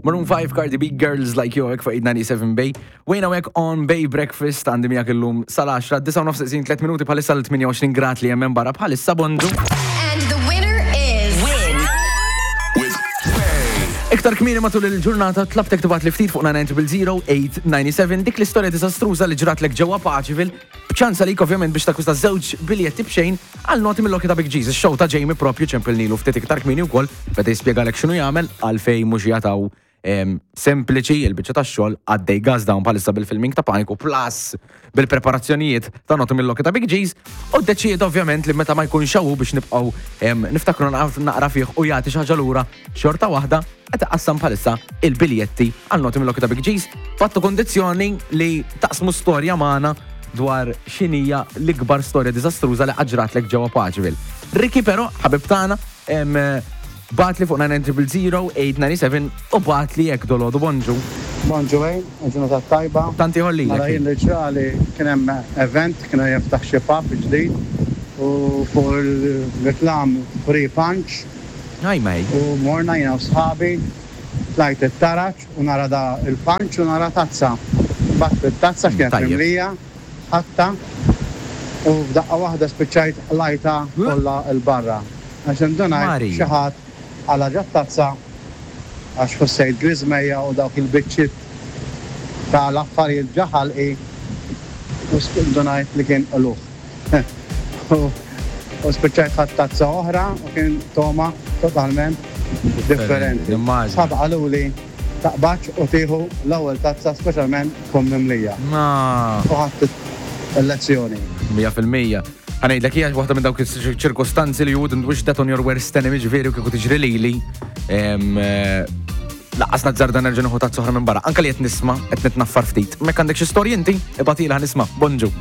Maroon 5, Cardi B, Girls Like You, fuq 897 Bay. Wejna wek on Bay Breakfast għandi miegħek illum sal-10, 9 3 minuti bħalissa l-28 grad li hemm barra bħalissa bondu. And the winner is. Win. With Iktar kmieni matul il-ġurnata tlabtek tibgħat li ftit fuq 900 dik l-istorja diżastruża li ġratlek ġewwa Paċivil b'ċans għalik ovvjament biex takkwista żewġ biljetti b'xejn għal noti mill-Lokki ta' Big Jesus, show ta' Jamie propju ċempilnilu ftit iktar kmieni wkoll beda jispjegalek x'inhu jagħmel għalfejn mhux jataw sempliċi il-biċċa tax-xogħol għaddej gas down bħalissa bil-filming ta' Paniku plus bil-preparazzjonijiet ta' noti mill-Lokki ta' Big G's u ddeċieda ovvjament li meta ma jkunx hawn biex nibqgħu niftakru naqra fih u jagħti xi ħaġa lura xorta waħda qed iqassam bħalissa il-biljetti għal noti mill-Lokki ta' Big G's fattu kondizzjoni li taqsmu storja magħna dwar x'inhija l-ikbar storja diżastruża li qatt ġratlek ġewwa Paċeville. Ricky però, ħabib tagħna, Bagħatli fuq 9000897 u bagħatli hekk dolodu bonġu. Bonġu Wayne, il-ġurnata t-tajba. Tant ieħor lilek. Mela jien li ġrali kien hemm event, kienu jiftaħ xi pub ġdid u fuq il-reklam free punch. Hi mate. U morna jiena u sħabi, tlajt it-taraġ u nara da il-punch u nara tazza. Qbadt it-tazza x'kienet mimlija, ħadtha u f'daqqa waħda spiċċajt qlajtha kollha 'l barra. Għax indunajt xi ħadd qala' ġot-tazza għax ħossejt griżmejja u dawk il-biċċiet ta' l-affarijiet ġa ħalqi u ndunajt li kien qlugħ. U spiċċajt ħadt tazza oħra u kien togħma totalment differenti. Sħabi qaluli taqbadx u tieħu l-ewwel tazza speċjalment tkun mimlija. U ħadt il-lezzjoni. 100%. Ħa ngħidlek hija waħda minn dawk iċ-ċirkostanzi li you wouldn't wish that on your worst enemy ġifieri u kieku tiġri lili. Eh, laqqas nazzarda nerġa' nieħu tazza oħra minn barra. Anke li qed nisma' qed nitnaffar ftit. Mek għandek xi storji inti, ibgħatilha nisma'. Bonġu.